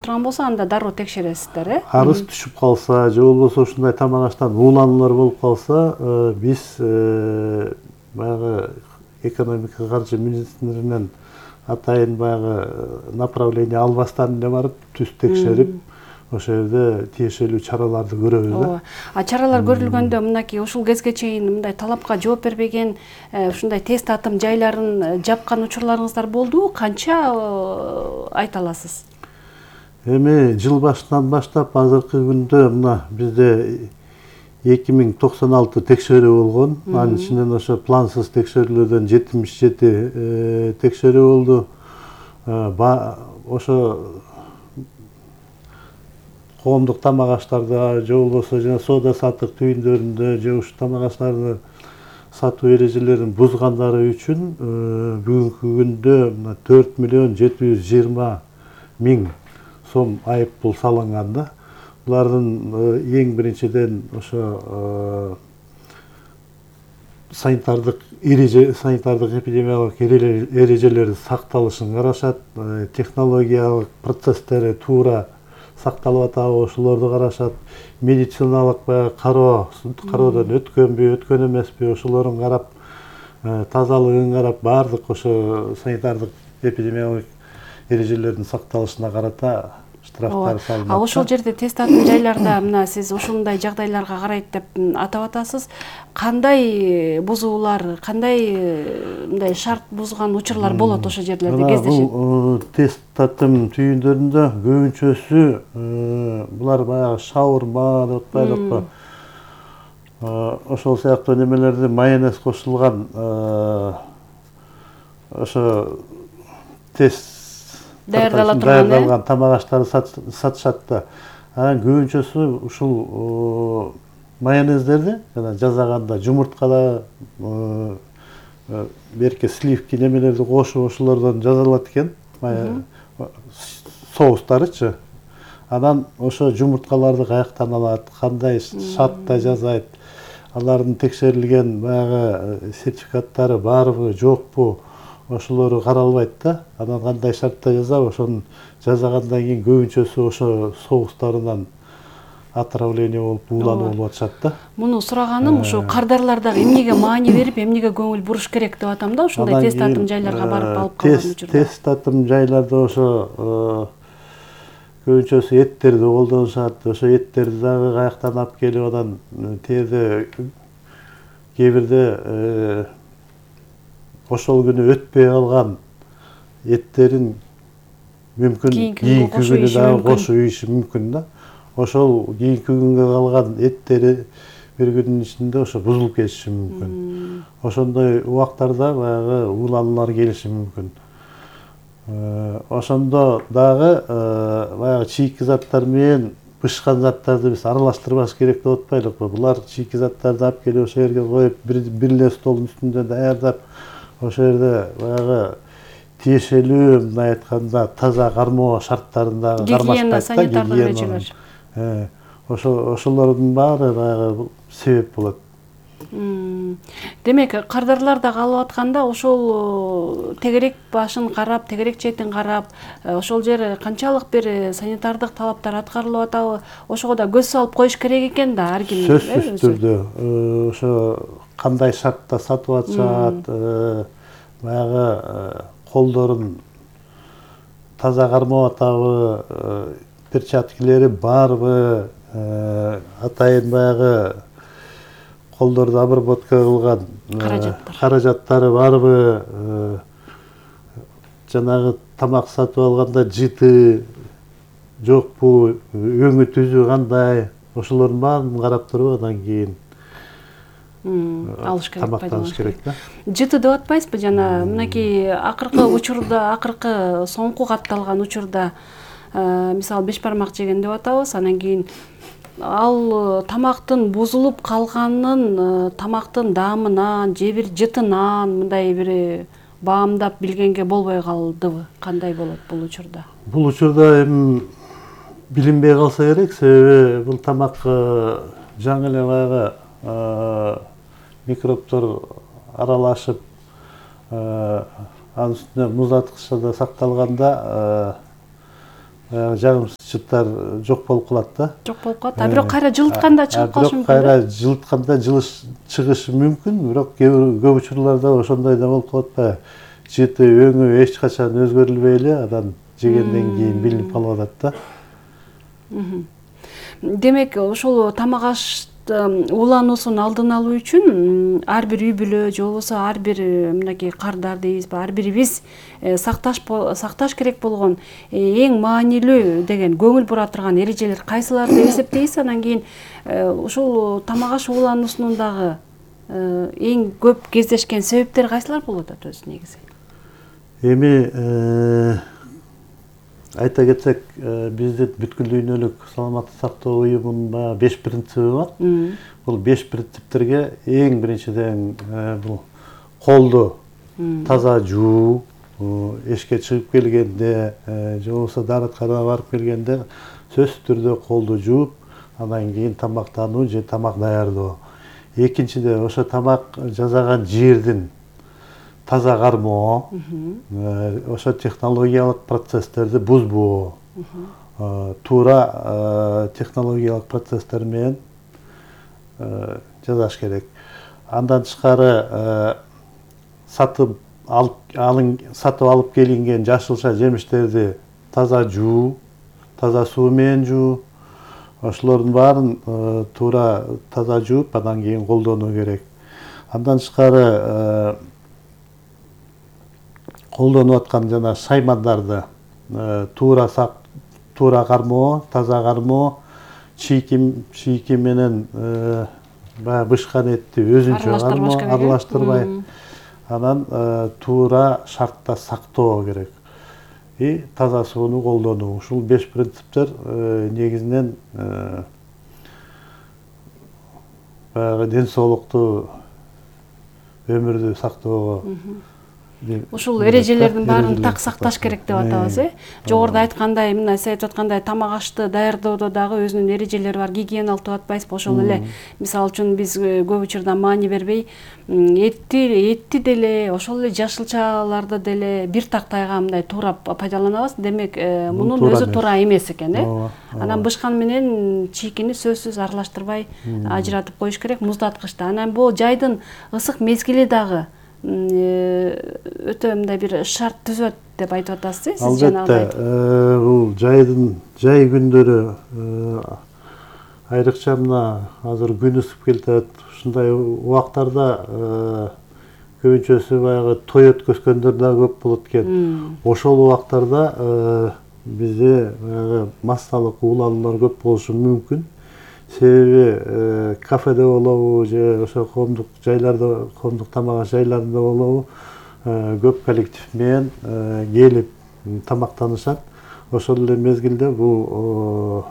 турган болсо анда дароо текшересиздер, Арыз түшүп калса же болбосо ушундай тамак аштан уулануулар болуп калса, биз баягы экономика каржы министрлигинен атайын баягы направление албастан эле барып түз текшерип, ошол жерде тиешелүү чараларды көрөбүз да. А чаралар көрүлгөндө мынакей ушул кезге чейин мындай талапка жооп бербеген ушундай тест татым жайларын жапкан учурларыңыздар болдубу? Канча айта аласыз? Эми жыл башынан баштап азыркы күндө мына бизде 2096 текшерүү болгон. Анын ичинен ошо плансыз текшерүүлөрдөн 77 текшерүү болду. Ошо коомдук тамак аштарда же болбосо жана соода саттык түйүндөрүндө же ушул тамак аштарды сатуу эрежелерин бузгандары үчүн бүгүнкү күндө 4.720.000 сом айыппул салынган да. Булардын эң биринчиден ошо санитардык эпидемиологик эрежелердин сакталышын карашат, технологиялык процесстери туура сакталып атабы ошолорду карашат, медициналык кароодон өткөнбү, өткөн эмеспи ошолорун карап, тазалыгын карап, баардык ошо санитардык эпидемиологик эрежелердин сакталышына карата штрафтар салынат. А ошол жерде тест татым жайларда мына сиз ушундай жагдайларга карайт деп атап атасыз. Кандай бузуулар, кандай мындай шарт бузган учурлар болот ошол жерлерде кездешет? Бул тест татым түйүндөрүндө көбүнчөсү булар баягы шаурма деп атпайлыкпы. Ошол сыяктуу немелерде майонез кошулган ошо тест даярдалган тамак аштарды сатышат да. Анан көбүнчөсү ушул майонездерди жана жасаганда жумурткада берки сливки немелерди кошуп ошолордон жасалат экен. Соустарычы. Анан ошо жумурткаларды каяктан алат, кандай шартта жасайт, алардын текшерилген баягы сертификаттары барбы, жокпу, ошолору каралбайт да. Анан кандай шартта жасап, ошону жасагандан кийин көбүнчөсү ошо соустарынан отравление болуп, уулануу болуп атышат да. Муну сураганым ушу кардарлар дагы эмнеге маани берип, эмнеге көңүл буруш керек деп атам да, ушундай тест татым жайларга барып алып калган учурда. Тест татым жайларда ошо көбүнчөсү эттерди колдонушат. Ошо эттерди дагы каяктан алып келип анан терде кээ бирде ошол күнү өтпөй калган эттерин мүмкүн кийинки күнү дагы кошуп ийиши мүмкүн да. Ошол кийинки күнгө калган эттери бир күндүн ичинде ошо бузулуп кетиши мүмкүн. Ошондой убактарда баягы уулануулар келиши мүмкүн. Ошондо дагы баягы чийки заттар менен бышкан заттарды биз аралаштырбаш керек деп атпайлыкпы? Булар чийки заттарды алып келип ошол жерге коюп, бир эле столдун үстүндө даярдап, ошол жерде баягы тиешелүү, мындай айтканда, таза кармоо шарттарындагы гигиена, санитардык эрежелер. Ошолордун баары баягы себеп болот. Демек, кардарлар да калып атканда ошол тегерек башын карап, тегерек четин карап, ошол жер канчалык бир санитардык талаптар аткарылып атабы, ошого да көз салып коюш керек экен да, ар ким. Сөзсүз түрдө ошо кандай шартта сатып атышат, баягы колдорун таза кармап атабы, перчаткилери барбы, атайын баягы колдорду обработка кылган каражаттары барбы, жанагы тамак сатып алганда жыты жокпу, өңү түзү кандай, ошолордун баарын карап туруп андан кийин алыш керек, тамактаныш керек да. Жыты деп атпайсызбы, жана мынакей акыркы учурда, акыркы соңку катталган учурда мисалы беш бармак жеген деп атабыз, анан кийин ал тамактын бузулуп калганын тамактын даамынан же бир жытынан мындай бир баамдап билгенге болбой калдыбы? Кандай болот бул учурда? Бул учурда эми билинбей калса керек, себеби бул тамак жаңы эле баягы микробтор аралашып, анын үстүнө муздаткычта сакталганда жагымсыз жыттар жок болуп калат да. Жок болуп калат. Бирок кайра жылытканда чыгып калышы мүмкүн. Кайра жылытканда чыгышы мүмкүн, бирок көп учурларда ошондой да болуп калат да. Жыты өңү эч качан өзгөрүлбөй эле анан жегенден кийин билинип калып атат да. Демек, ошол тамак аш уулануусун алдын алуу үчүн ар бир үй бүлө же болбосо ар бир мынакей кардар дейбизби, ар бирибиз сакташ керек болгон эң маанилүү деген көңүл бура турган эрежелер кайсылар деп эсептейсиз? Анан кийин ушул тамак аш уулануусунун дагы эң көп кездешкен себептери кайсылар болуп атат өзү негизи? Эми айта кетсек, биздин бүткүл дүйнөлүк саламаттык сактоо уюмунун баягы 5 принциби бар. Бул 5 принциптерге эң биринчиден бул колду таза жуу, эшикке чыгып келгенде же болбосо дааратканага барып келгенде сөзсүз түрдө колду жууп, андан кийин тамактануу же тамак даярдоо. Экинчиден ошо тамак жасаган жердин таза кармоо, ошо технологиялык процесстерди бузбоо, туура технологиялык процесстер менен жасаш керек. Андан тышкары сатып алып келинген жашылча жемиштерди таза жуу, таза суу менен жуу, ошолордун баарын туура таза жууп, андан кийин колдонуу керек. Андан тышкары колдонуп аткан жана шаймандарды туура кармоо, таза кармоо, чийки менен баягы бышкан этти өзүнчө кармоо, аралаштырбай, анан туура шартта сактоо керек. И таза сууну колдонуу. Ушул 5 принциптер негизинен баягы ден соолукту, өмүрдү сактоого ушул эрежелердин баарын так сакташ керек деп атабыз, Жогоруда айткандай, мына сиз айтып аткандай тамак ашты даярдоодо дагы өзүнүн эрежелери бар, гигиеналык деп атпайсызбы? Ошол эле мисалы үчүн биз көп учурда маани бербей, этти деле, ошол эле жашылчаларды деле бир тактайга мындай туура пайдаланабыз. Демек, мунун өзү туура эмес экен, Анан бышкан менен чийкини сөзсүз аралаштырбай ажыратып коюш керек муздаткычта. Анан бул жайдын ысык мезгили дагы өтө мындай бир шарт түзөт деп айтып атасыз, сиз жанагыдай. Албетте, бул жай күндөрү айрыкча мына азыр күн ысып келатат. Ушундай убактарда көбүнчөсү баягы той өткөзгөндөр да көп болот экен. Ошол убактарда бизде массалык уулануулар көп болушу мүмкүн. Себеби кафеде болобу же ошо коомдук жайларда, коомдук тамак аш жайларында болобу, көп коллектив менен келип тамактанышат. Ошол эле мезгилде бул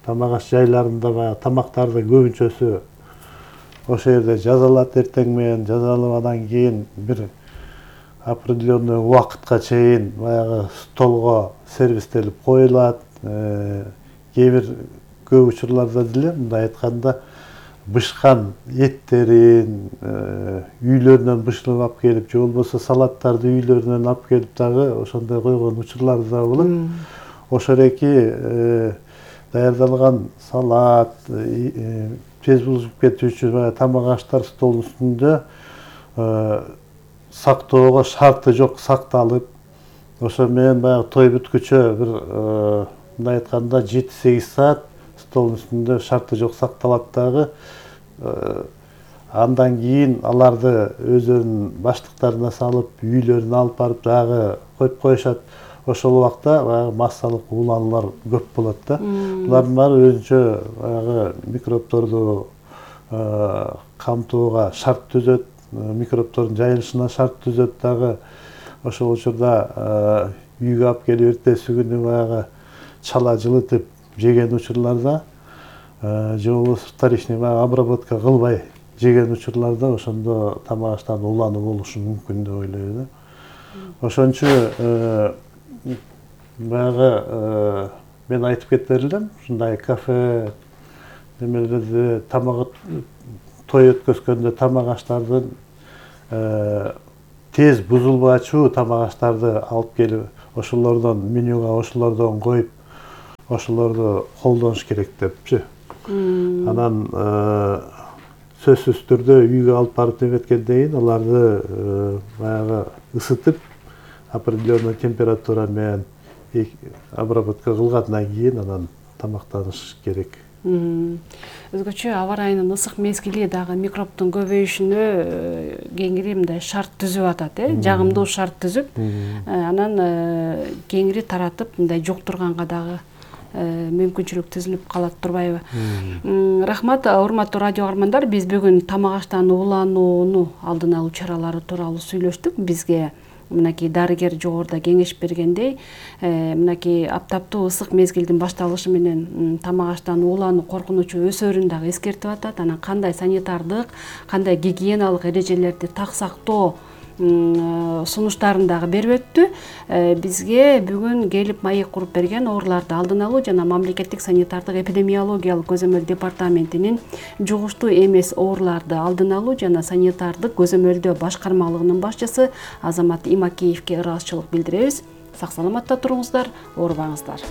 тамак аш жайларында баягы тамактарды көбүнчөсү ошол жерде жасалат, эртең менен жасалып, андан кийин бир определенный убакытка чейин баягы столго сервистелип коюлат. Кээ бир көп учурларда деле мындай айтканда бышкан эттерин үйлөрүнөн бышырып алып келип, же болбосо салаттарды үйлөрүнөн алып келип дагы ошондой койгон учурлар да болот. Ошол эки даярдалган салат, тез бузулуп кетүүчү тамак аштар столдун үстүндө сактоого шарты жок сакталып, ошо менен баягы той бүткүчө бир мындай айтканда 7-8 саат столдун үстүндө шарты жок сакталат дагы. Андан кийин аларды өздөрүнүн баштыктарына салып, үйлөрүнө алып барып дагы коюп коюшат. Ошол убакта баягы массалык уулануулар көп болот да. Булардын баары өзүнчө баягы микробторду камтууга шарт түзөт, микробтордун жайылышына шарт түзөт дагы. Ошол учурда үйгө алып келип эртеси күнү баягы чала жылытып жеген учурларда, же болбосо вторичный обработка кылбай жеген учурларда ошондо тамак аштан уулануу болушу мүмкүн деп ойлойм да. Ошончу баягы мен айтып кетер элем, ушундай кафе немелерде тамак той өткөзгөндө тамак аштардын тез бузулбачу тамак аштарды алып келип ошолордон менюга ошолордон коюп ошолорду колдонуш керек депчи. Анан сөзсүз түрдө үйгө алып барып неметкенден кийин аларды баягы ысытып определенный температура менен обработка кылгандан кийин анан тамактаныш керек. Өзгөчө аба ырайынын ысык мезгили дагы микробдун көбөйүшүнө кеңири мындай шарт түзүп атат, жагымдуу шарт түзүп, анан кеңири таратып мындай жуктурганга дагы мүмкүнчүлүк түзүлүп калат турбайбы? Рахмат, урматтуу радио каармандар, биз бүгүн тамак аштан ууланууну алдын алуу чаралары тууралуу сүйлөштүк. Бизге мынакей дарыгер жогоруда кеңеш бергендей, мынакей аптаптуу ысык мезгилдин башталышы менен тамак аштан уулануу коркунучу өсөрүн дагы эскертип атат. Анан кандай санитардык, кандай гигиеналык эрежелерди так сактоо сунуштарын дагы берип өттү. Бизге бүгүн келип маек куруп берген ооруларды алдын алуу жана мамлекеттик санитардык эпидемиологиялык көзөмөл департаментинин жугуштуу эмес ооруларды алдын алуу жана санитардык көзөмөлдөө башкармалыгынын башчысы Азамат Имакеевке ыраазычылык билдиребиз. Сак саламатта туруңуздар, оорубаңыздар.